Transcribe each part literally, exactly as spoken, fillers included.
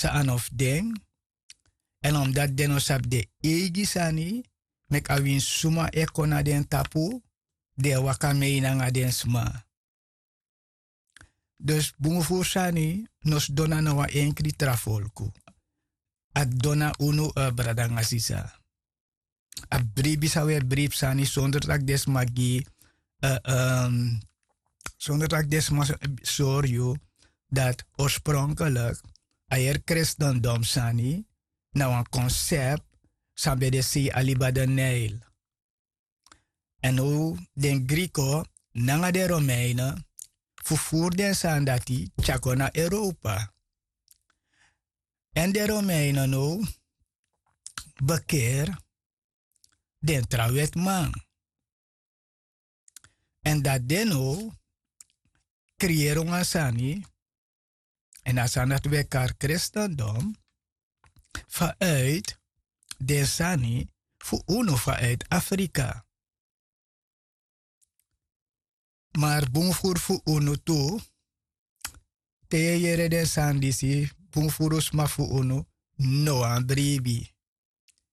san a no fu den. Èn omdati den no sabi den eigi sani, meki a wini suma e kon na den tapu, den e waka mei nanga den sma. Dus bun furu sani no sidon na wan enkri tra folku. A didon na unu, brada nanga sisa. A bribi san un e bribi sani sonder tak' den sma gi, sonder tak' den sma sori yu dati orspronklik a heri kristendom sani na wan konsept san ben de sei a liba den neil. Èn now den griko nanga den romeinen fu furu den sani dati tyari kon na europa. Èn den romeinen now bekeri den tra wetiman. Èn dati den now kriyeri wan sani èn a sani dati wi e kari kristendom, fanuiti den sani fu unu fanuiti afrika. Mari bun furu fu unu tu, te yu e yere den sani disi bun furu sma fu unu no wani bribi.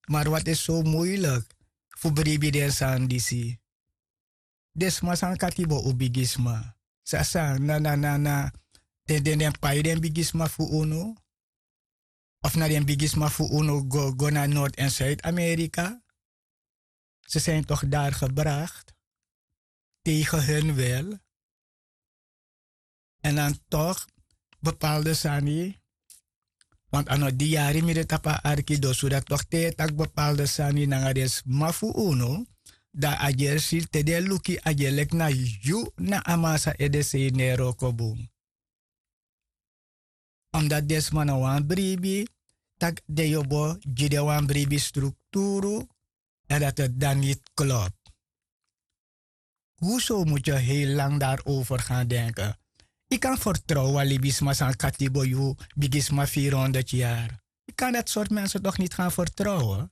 Mari wati e so muiliki fu bribi den sani disi. Den sma san katibo un bigisma, san san na na na na den den den pai den bigisma fu unu? Of na den bigisma fu unu go go na nord en suid amerika? Ze sin tok dari gebrakt tegen hun wil. Èn dan tok bepalde sani, want a no di yari mi de tapu a arki dosu dati tok te yu e taki bepalde sani nanga den sma fu unu, dan a gersi te den e luku a gerleki na yu na a man san ede sei ne en wroko bun. Omdati den sma no wani bribi, tak' den yobo gi den wan bribi strukturu èn dati dan niti klopu. Huso mutu yu hei lang dari over gan denken? Yu kan fertrowen wan libisma san katibo yu bigisma vierhonderd yari? Yu kan dati sortu mensen tok niti gan fertrowen?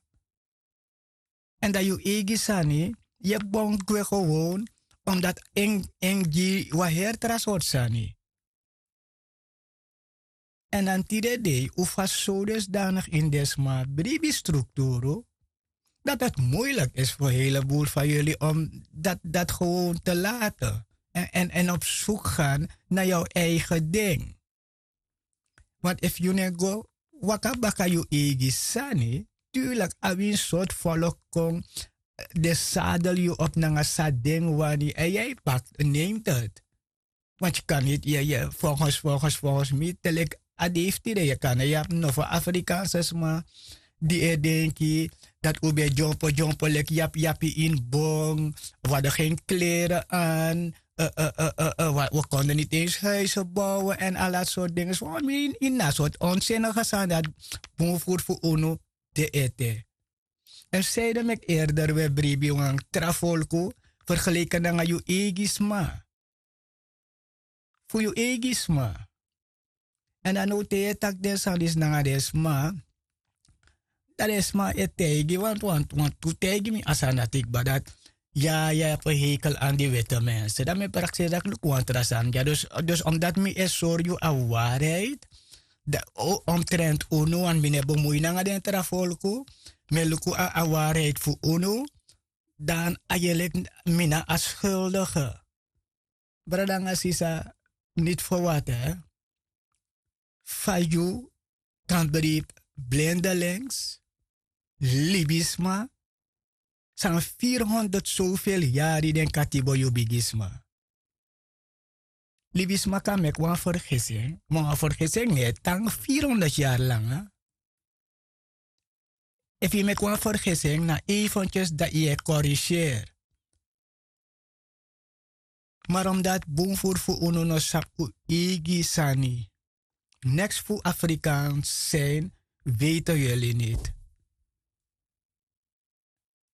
Èn dan yu eigi sani yu e bon gwe gewon, omdati en gi wan heri tra sortu sani. Èn dan tide dei un fasi so dusdanik ini den sma bribi strukturu, dati dati muiliki isi fu en helebul fan yuli om dati dati gewon te laten èn èn op suku gan na yu eigen ding. Want efu yu no e go waka baka yu eigi sani, turliki a wini sortu folok kon den sadel yu op nanga san den wani èn yu e paki neimteti. Want yu kan niti yu e yu e folgens folgens folgens mi te leki a dei fu tide yu kan no yabi nofo afrikaanse sma di e denki dati un ben dyompo dyompo leki yapi yapi ini bong. Wi hadden gen kleren an wi konden niti ensi huizen bouwen èn ala sortu dingen so wan mi ini na sortu onsinnige sani dati bun furu fu unu de ete. Èn seide meki erder wi e bribi wan tra folku fergeleken nanga yu eigi sma. Fu yu eigi sma. Èn dan now te yu e taki den sani disi nanga den sma, dan den sma e taigi wantu wantu wantu taigi mi a sani dati kba dati ya ya yu abi en heikel an di wete mense dan mi e prakseri dati luku wan tra sani dya. Dus omdati mi e sori yu a wariheid omtrenti unu wantu mi no e bemui nanga den tra folku, mi e luku a wariheid fu unu, dan ayerlik mi na a skuldige. Brada nanga sisa, niti ferwati fa yu kan bribi blindelings, libisma san vierhonderd soveel yari den katibo yu bigisma. Libisma kan meki wan fergesing ma wan fergesing no e tan vierhonderd yari langa. Efu yu meki wan fergesing na eventyes dan yu e koriseri. Mari omdati bun furu fu unu no sabi un eigi sani, neks fu afrikaans sin, weite yuli niti.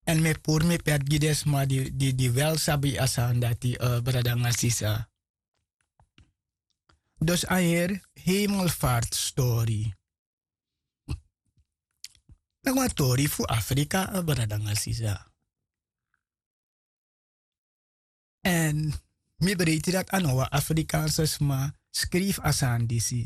Èn mi e puru mi pet gi den sma di wel sabi a sani dati, brada nanga sisa. Dus a heri hemelvartstori. Nanga wan tori fu afrika, brada nanga sisa. Èn mi breiti dati a no wan afrikaanse sma skrifi a sani disi.